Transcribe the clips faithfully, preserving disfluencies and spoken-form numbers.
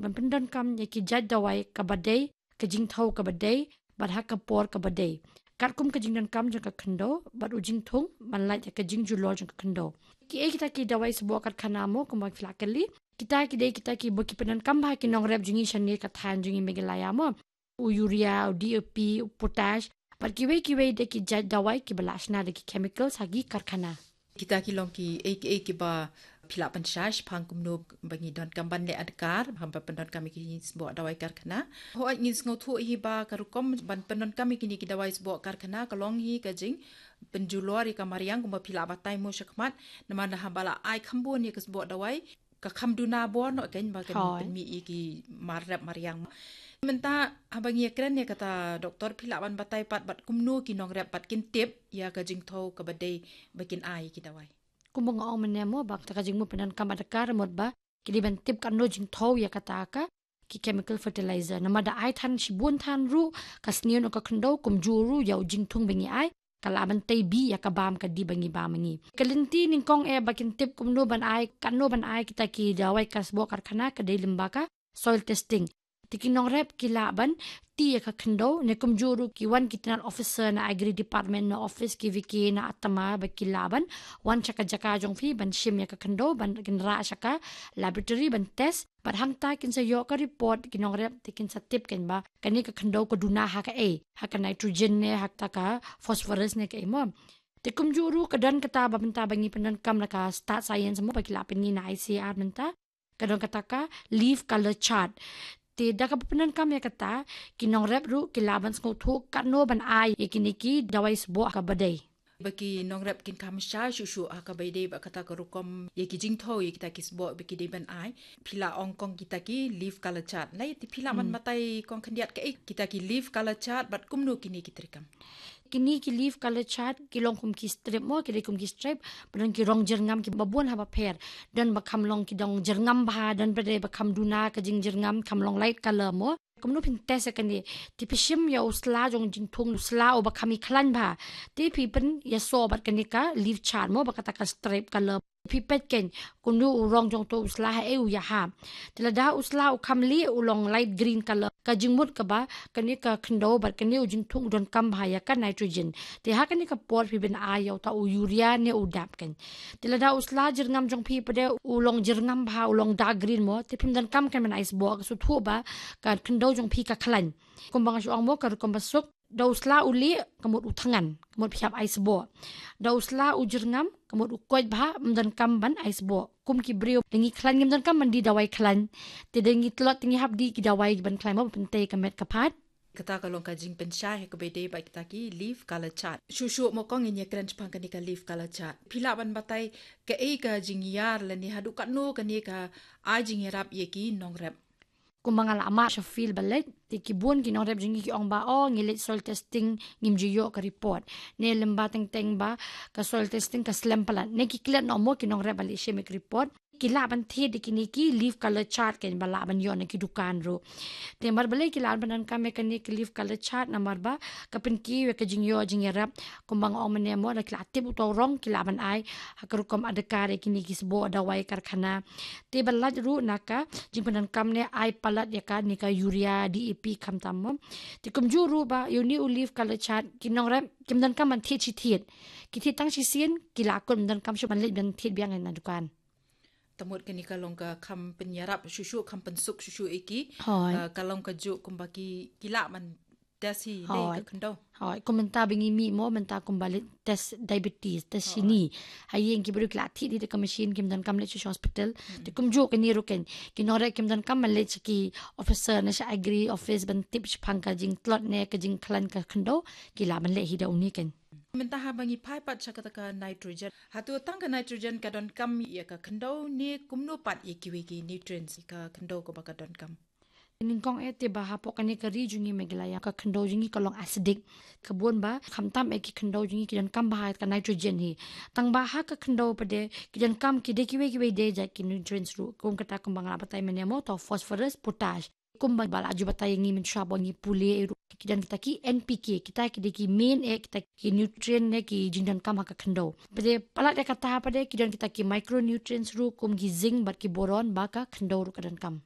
ban pyndonkam ïa ki jait dawai kaba dei, ka jingthew kaba dei, bad ha ka por kaba dei. Katkum ka jingdonkam jong ka khyndew bad u jingthung ban lait ïa ka jingjulor jong ka khyndew. Kiei kita ki dawai sboh karkhana mo, kumba phi la kylli? Kita ki dei kita kiba ki pyndonkam bha ki nongrep jong ngi shane ka thaiñ jong ngi Meghalaya mo. U urea, u D A P, u potash, bad kiwei kiwei de ki jait dawai kiba la shna da ki chemicals ha ki karkhana. Kita ki long kiei kiei kiba phi lah pynshai shaphang kumno ba ngi donkam ban leh adkar haba pyndonkam ïa ki sboh dawai karkhana. Hooid, ngi sngewthuh hi ba ka rukom ban pyndonkam ïa kine ki dawai sboh karkhana ka long hi ka jingpynjulor ïa ka mariang, kumba phi lah batai mo shakhmat, namar haba la ai kham bun ïa ka sboh dawai, ka kham duna bor noh kein ba kan pynmih ïa ki mar rep mariang. Mynta haba ngi ïakren ïa kata, doktor, phi lah ban batai pat bad kumno ki nongrep pat kin tip ïa ka jingthew kaba dei ba kin ai ïa ki dawai? Kumba nga ong mynne mo, ba kata ka jingmut pyndonkam adkar mut ba ki dei ban tip katno jingthew ïa kata ka ki chemical fertilizer. Namar da ai than shibun than ruh, ka sniew noh ka khyndew, kumjuh ruh ïa u jingthung ba ngi ai ka lah ban tei bih ïa ka bam ka dih ba ngi bam ngi. Ka lynti nyngkong eh ba kin tip kumno ban ai, katno ban ai kita ki dawai ka sboh karkhana ka dei lyngba ka soil testing. Te ki nongrep ki lah ban tih ïa ka khyndew, ne kumjuh ruh ki wan ki tnat officer na Agri Department, na office ki VK na ATMA, ba ki lah ban wan sha ka jaka jong phi ban shim ïa ka khyndew, ban kin rah sha ka laboratory ban test. Bad hangta kin sa ïoh ka report ki nongrep, te kin sa tip kein ba kane ka khyndew ka duna ha kaei, ha ka nitrogen ne ha kata ka phosphorus ne kaei mo. Te kumjuh ruh ka don kata ba mynta ba ngi pyndonkam na ka stad science mo, ba ki lah pyni na ICAR mynta, ka don kata ka leaf color chart. Te da kaba pyndonkam ïa kata, ki nongrep ruh ki lah ban sngewthuh katno ban ai ïa kine ki dawai sboh kaba dei. Ba ki nongrep kin kham shai shuh shuh ha kaba ïadei bad kata ka rukom ïa ki jingthew ïa kita ki sboh ba ki dei ban ai. Phi la ong kong kita ki leaf color chart. Nai, te phi lah ban batai kong khyndiat kaei kita ki leaf color chart bad kumno kine ki treikam? Kine ki leaf color chart ki long kum ki strip mo, ki dei kum ki strip, ba don ki rong jyrngam kiba bun ha bapher. Don ba kham long ki dong jyrngam bha, don pat de ba kham duna ka jingjyrngam, kham long light color mo. Kumno phin test ïa kane? Te phi shim ïa u sla jong jingthung, u sla uba kham ïakhlaiñ bha. Te phi pynïasoh bad kane ka leaf chart mo, bad kata ka stripe color. Phi peit kein kumno u rong jong uto u sla haei u ïahap. Te lada u sla u kham lieh, u long light green color, ka jingmut kaba kane ka khyndew bad kane u jingthung u donkam bha ïa ka nitrogen. Te ha kane ka por phi ban ai ïa uta u urea ne u dap kein. Te lada u sla jyrngam jong phi pat de u long jyrngam bha, u long dark green mo, te phim donkam kein ban ai sboh, ka sngewthuh ba ka khyndew jong phi ka khlaiñ. Kumba nga shu ong mo, ka rukom ba suk, da u sla u lieh, ka mut u thngan, ka mut phi hap ai sboh. Da u sla u jyrngam, ka mut u koit bha, ym donkam ban ai sboh. Kum ki briew, da ngi khlaiñ ngim donkam ban die dawai khlaiñ. Te da ngi tlot, te ngi hap die ki dawai ban khlaiñ mo, ban pyntei ka met ka phad. Kata ka long ka jingpynshai ha kaba ïadei bad kita ki leaf color chart. Shuh shuh mo kong, ngin ïakren shaphang kane ka leaf color chart. Phi lah ban batai kaei ka jingïar lane haduh katno kane ka ai jingïarap ïa ki nongrep? Kumba nga la mad sha field ba leit, te ki bun ki nongrep jong ngi ki ong ba, oh, ngi leit soil testing, ngim ju ïoh ka report. Ne lem ba teng teng ba ka soil testing ka slem palat. Ne ki klet noh mo ki nongrep ba leit shim ïa ka report. Ki lah ban thied da kine ki leaf color chart kein ba lah ban ïoh na ki dukan ruh. Te namar balei ki lah ban pyndonkam ïa kane ki leaf color chart, namar ba ka pynkiew ïa ka jingïoh jingïarap. Kumba nga ong mynne mo, da ki la tip uto u rong, ki lah ban ai ha ka rukom adkar ïa kine ki sboh dawai karkhana. Te ba lait ruh na ka jingpyndonkam ne ai palat ïa kane ka urea, DAP khamtam mo. Te kumjuh ruh ba ïa une u leaf color chart, ki nongrep kim donkam ban thied shi thied. Ki thied tang shisien, ki la kut, ym donkam shuh ban leit ban thied biang na dukan. Te mut kane ka long ka kham pynïarap shuh shuh, kham pynsuk shuh shuh ïa ki. Hooid. Ah, ka long kajuh kumba ki, ki lah ban test hi, dei ka khyndew. Hooid. Kum mynta ba ngi mih mo, mynta kumba leit test diabetes, test shini. Ha ïing ki briew ki la thied hi da ka machine, kim donkam leit sha hospital. Hmm. Te kumjuh kane ruh kein, ki nongrep kim donkam ban leit sha ki officer ne sha agri office ban tip shaphang ka jingtlot ne ka jingkhlaiñ ka khyndew, ki lah ban leh hi da une kein. Mynta haba ngi phai pat sha kata ka nitrogen, hato tang ka nitrogen ka donkam ïa ka khyndew ne kumno pat ïa kiwei ki nutrients ka khyndew kaba ka donkam? Nyngkong eh, te ba hapoh kane ka ri jong ngi Meghalaya, ka khyndew jong ngi ka long acidic. Ka bun ba khamtam eh ki khyndew jong ngi ki donkam bha ka nitrogen hi. Tang ba ha ka khyndew pat de ki donkam ki dei kiwei kiwei de jait ki nutrients ruh. Kum kata kumba nga la batai mynne mo, to phosphorus, potash. Kumba ba la ju batai ïa ngi mynshuwa ba ngi pule eh ruh, ki don kita ki NPK, kita ki dei ki main eh kita ki nutrient ne ki jingdonkam ha ka khyndew. Pat de palat ïa kata pat de ki don kita ki micronutrients ruh kum ki zinc bad ki boron ba ka khyndew ruh ka donkam.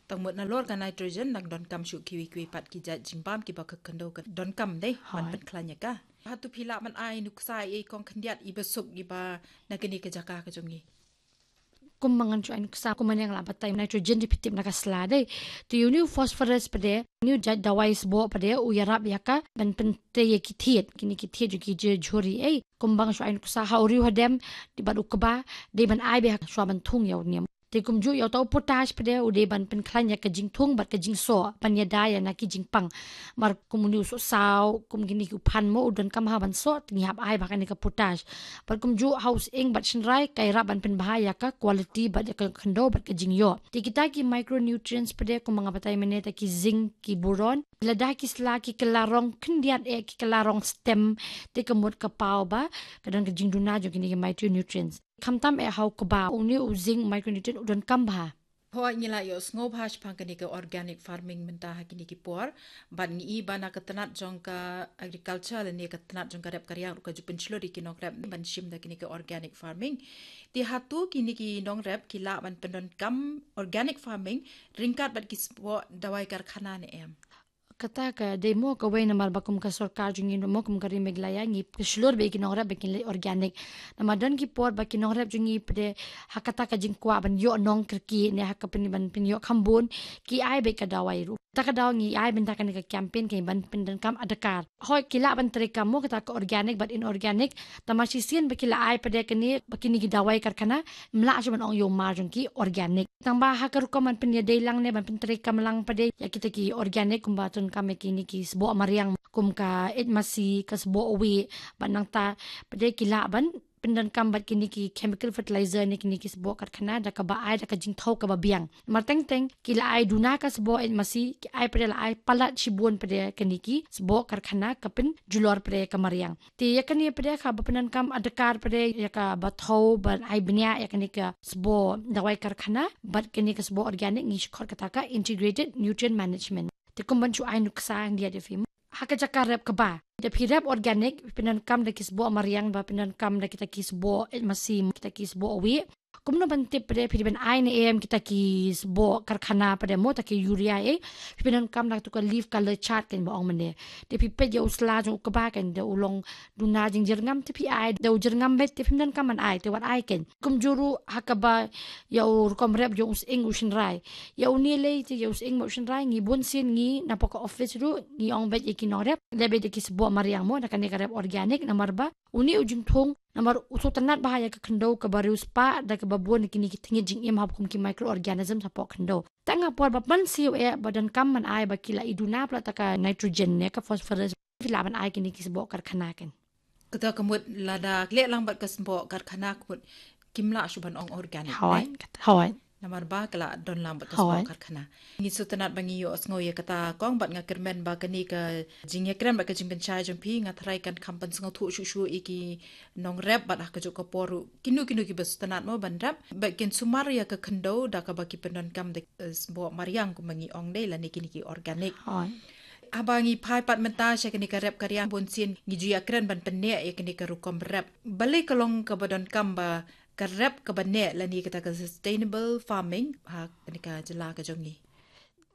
Tang mut nalor ka nitrogen nang donkam shuh kiwi kiwi pat ki jait jingbam kiba ka khyndew ka donkam dei ban pynkhlaiñ ïa ka. Hato phi lah ban ai nuksa ïa i kong khyndiat iba suk iba na kane ka jaka ka jong ngi? Kum ma ngan shu ai nuksa, kum ma ngan lah batai, nitrogen te phi tip na ka sla dei. Te uni u phosphorus pat de, uni u jait dawai sboh pat de, u ïarap ïa ka ban pyntrei ïa ki thied, kine ki thied jong ki jhur jhuri ei. Kum ba ngan shu ai nuksa, ha u riew hadem, dei bad u kba, dei ban ai beit ha shuwa ban thung ïa u niam. Te kumjuh ïa uta u potash pat de, u dei ban pynkhlaiñ ïa ka jingthung bad ka jingsoh, ban ïada ïa na ki jingpang. Namar kum uni u sohsaw, kum kine ki u phan mo, u donkam ha ban soh, te ngi hap ai beit ha kane ka potash. Bad kumjuh ha u sying bad shynrai, ka ïarap ban pynbha ïa ka quality bad ïa ka khyndew bad ka jingïoh. Te kita ki micronutrients pat de, kum ma nga batai mynne, ta ki zinc, ki boron, lada ki sla ki kylla rong khyndiat eh, ki kylla rong stem, te ka mut ka paw ba ka don ka jingduna jong kine ki micronutrients. Khamtam eh ha u kba, uni u zinc micronutrient u donkam bha. Hooid, ngi la ïohsngew bha shaphang kane ka organic farming mynta ha kine ki por. Bad ngi i ba na ka tnat jong ka agriculture lane ka tnat jong ka rep ka riang ruh ka ju pynshlur ïa ki nongrep ban shim da kane ka organic farming. Te hato kine ki nongrep ki lah ban pyndonkam organic farming ryngkat bad ki sboh dawai karkhana ne em? Kata ka dei mo kawei namar ba kum ka sorkar jong ngi mo, kum ka Ri Meghalaya, ngi pynshlur beit ïa ki nongrep ba kin leit organic. Namar don ki por ba ki nongrep jong ngi pat de ha kata ka jingkwah ban ïoh nongkyrkieh ne ha ka pyn, ban pynïoh khambun, ki ai beit ka dawai ruh. Kata ka daw ngi ai beit da kane ka campaign ka ban pyndonkam adkar. Hooid, ki lah ban treikam mo kata ka organic bad inorganic, tangba shisien ba ki la ai pat de kane, ba kine ki dawai karkhana, ym lah shuh ban ong ïa u mar jong ki organic. Tangba ha ka rukom ban pynïadei lang ne ban pyntreikam lang pat de ïa kita ki organic, kumba donkam ïa kine ki sboh mariang, kum ka eit masi, ka sboh wieh, bad nangta pat de ki lah ban pyndonkam bad kine ki chemical fertilizer ne kine ki sboh karkhana da kaba ai da ka jingthew kaba biang. Namar teng teng ki la ai duna ka sboh eit masi, ki ai pat de, la ai palat shibun pat de kine ki sboh karkhana ka pynjulor pat de ka mariang. Te ïa kane pat de kaba pyndonkam adkar pat de ïa kaba thew ban ai bniah ïa kane ka sboh dawai karkhana bad kane ka sboh organic, ngi shu khot kata ka integrated nutrient management. Te kum ban shu ai nuksa khyndiat ïa phi mo, ha ka jaka rep kba, da phi rep organic, phi pyndonkam da ki sboh mariang, ba pyndonkam da kita ki sboh eit masi, kita ki sboh wieh, kumno ban tip pat de phi dei ban ai ne em kita ki sboh karkhana pat de mo, ta ki urea eh, phi pyndonkam da katu ka leaf colour chart kane ba ong mynne. Te phi peit ïa u sla jong u kba kane, da u long duna jingjyrngam te phi ai, da u jyrngam beit te phim donkam ban ai, te wat ai kane. Kumjuh ruh ha kaba ïa u rukom rep jong u sying u shynrai. Ïa une lei te ïa u sying bad u shynrai, ngi bunsien ngi napoh ka office ruh ngi ong beit ïa ki nongrep, leh beit da ki sboh mariang mo, da kane ka rep organic, namar ba une u jingthung, namar u sngewtynnad bha ïa ka khyndew kaba riewspah da kaba bun kine ki tnat jingim haba kum ki microorganism shapoh khyndew. Tang ha por ba pynsiew eh ba donkam ban ai ba ki la i duna palat ta ka nitrogen ne ka phosphorus, phi lah ban ai kine ki sboh karkhana kane. Kata ka mut lada leh lang bad ka sboh karkhana ka mut kim lah shuh ban ong organic. Hooid, ne? Kata, hooid. Namar ba ka la don lang bad ka sboh, hooid, karkhana. Ngi sngewtynnad ba ngi ïohsngew ïa kata kong, bad nga kyrmen ba kane ka jingïakren bad ka jingpynshai jong phi, nga tharai kan kham pynsngewthuh shuh shuh ïa ki nongrep bad ha kajuh ka por ruh kino kino kiba sngewtynnad mo ban rep, ba kin sumar ïa ka khyndew da kaba ki pyndonkam da, eh, sboh mariang kumba ngi ong dei, lane kine ki organic. Hooid. Haba ngi phai pat mynta sha kane ka rep ka riang, bunsien ngi ju ïakren ban pynneh ïa kane ka rukom rep. Balei ka long kaba donkam ba ka rep kaba neh lane kata ka sustainable farming ha kane ka jylla ka jong ngi?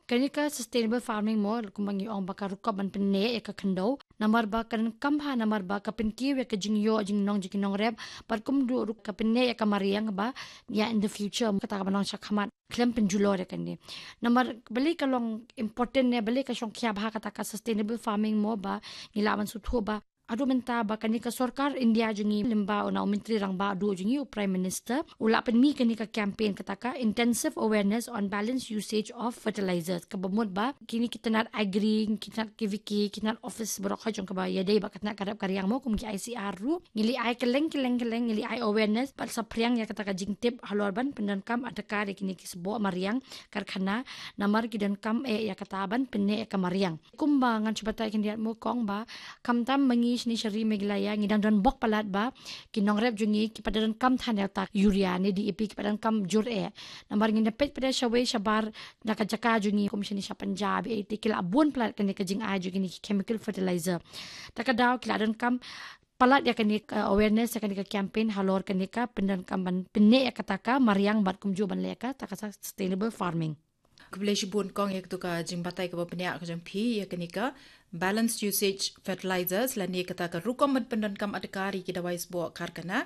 Kane ka sustainable farming mo, kumba ngi ong ba ka rukom ban pynneh ïa ka khyndew. Namar ba ka donkam bha, namar ba ka pynkiew ïa ka jingïoh jingnong jong ki nongrep, bad kumjuh ruh ka pynneh ïa ka mariang ba ïa in the future, kata kaba nang shakhmat, khlem pynjulor ïa kane. Namar balei ka long important ne balei ka shongkhia bha kata ka sustainable farming mo, ba ngi lah ban sngewthuh ba haduh mynta ba kane ka sorkar India jong ngi, lyngba u na u Myntri Rangbah duh jong ngi, u Prime Minister, u la pynmih kane ka campaign kata ka Intensive Awareness on Balanced Usage of Fertilizers, kaba mut ba kine ki tnat agri, ki tnat K V K, ki tnat office baroh kawei jong kaba ïadei bad ka tnat ka rep ka riang mo, kum ki I C R ruh, ngi la ai kylleng kylleng kylleng, ngi la ai awareness bad saphriang ïa kata ka jingtip halor ban pyndonkam adkar ïa kine ki sboh mariang karkhana, namar ki donkam eh ïa kata ban pynneh ïa ka mariang. Kumba ngan shu batai khyndiat mo kong, ba khamtam ma ngi shane sha Ri Meghalaya ngi dang don bok palat ba ki nongrep jong ngi ki pat donkam than ïa uta ka urea ne D A P, ki pat donkam jur eh. Namar ngi da peit pat de shawei shabar na ka jaka jong ngi, kum shane sha Punjab, eh, te ki la bun palat kane ka jingai jong kine ki chemical fertilizer. Ta ka daw ki la donkam palat ïa kane ka awareness, ïa kane ka campaign halor kane ka pyndonkam ban pynneh ïa kata ka mariang bad kumjuh ban leh ïa kata ka sustainable farming. Khublei shibun kong ïa katu ka jingbatai kaba bniah ka jong phi ïa kane ka balanced usage fertilizers lane kata ka rukom ban pyndonkam adkar ïa ki dawai sboh karkhana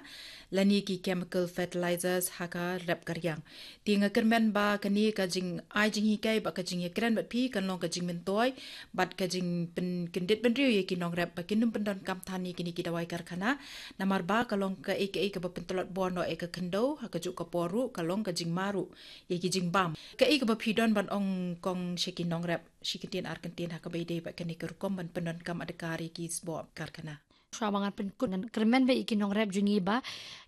lane ki chemical fertilizers ha ka rep ka riang. Te nga kyrmen ba kane ka jingai jinghikai bad ka jingïakren bad phi kan long ka jingmyntoi bad ka jingpynkyndit bynriew ïa ki nongrep ba kin ym pyndonkam than ïa kine ki dawai karkhana. Namar ba ka long kaei kaei kaba pyntlot bor noh ïa ka khyndew, ha kajuh ka por ruh ka long ka jingma ruh ïa ki jingbam. Kaei kaba phi don ban ong kong sha ki nongrep shi kyntien ar kyntien ha kaba ïadei bad kane ka rukom ban pyndonkam adkar ïa ki sboh karkhana? Shuwa ba ngan pynkut, ngan kyrmen beit ïa ki nongrep jong ngi ba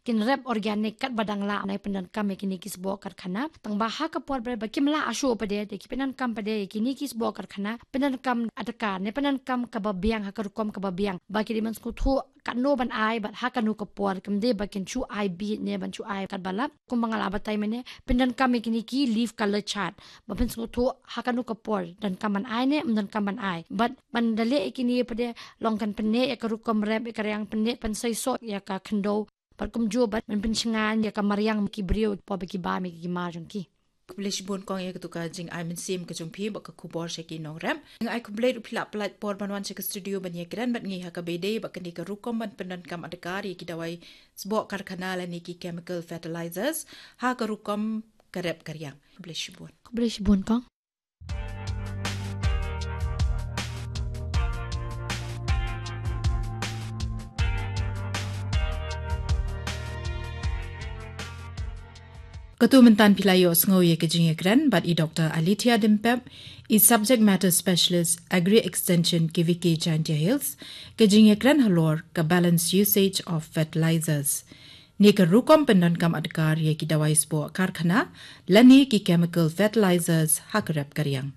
kin rep organic katba dang lah, ban pyndonkam ïa kine ki sboh karkhana. Tang ba ha ka por ba kim lah shuh pat de, te ki pyndonkam pat de ïa kine ki sboh karkhana, pyndonkam adkar ne pyndonkam kaba biang ha ka rukom kaba biang, ba ki dei ban sngewthuh katno ban ai bad ha kano ka por. Kam dei ba kin shu ai beit ne ban shu ai katba lap. Kumba nga la batai mynne, pyndonkam ïa kine ki leaf color chart ba pynsngewthuh ha kano ka por donkam ban ai ne ym donkam ban ai. Bad ban da leh ïa kine pat de long kan pynneh ïa ka rukom rep ïa ka riang, pynneh pynseisoh ïa ka khyndew. Bad kumjuh bad ban pynshngaiñ ïa ka mariang ki briew por ba ki bam ïa ki mar jong ki. Khublei shibun kong ïa katu ka jingai mynsiem ka jong phi bad ka khubor sha ki nongrep. Nga ai khublei ruh phi la pynlait por ban wan sha ka studio ban ïakren bad ngi ha kaba ïadei bad kane ka rukom ban pyndonkam adkar ïa ki dawai sboh karkhana lane ki chemical fertilizers ha ka rukom ka rep ka riang. Khublei shibun. Khublei shibun kong. Katu mynta phi la ïohsngew ïa ka jingïakren bad i Doctor Alethea Dimpep, i Subject Matter Specialist Agri Extension K V K Jaintia Hills, ka jingïakren halor ka balanced usage of fertilizers. Ne ka rukom pyndonkam adkar ïa ki dawai sboh karkhana lane ki chemical fertilizers ha ka rep ka riang.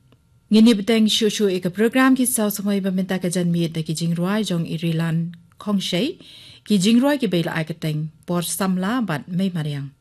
Ngin ïa bteng shuh shuh ïa ka program ki saw samoi ba mynta ka janmiet da ki jingrwai jong i Rilan Khongshei, ki jingrwai kiba la ai kyrteng Por Samla bad Mei Mariang.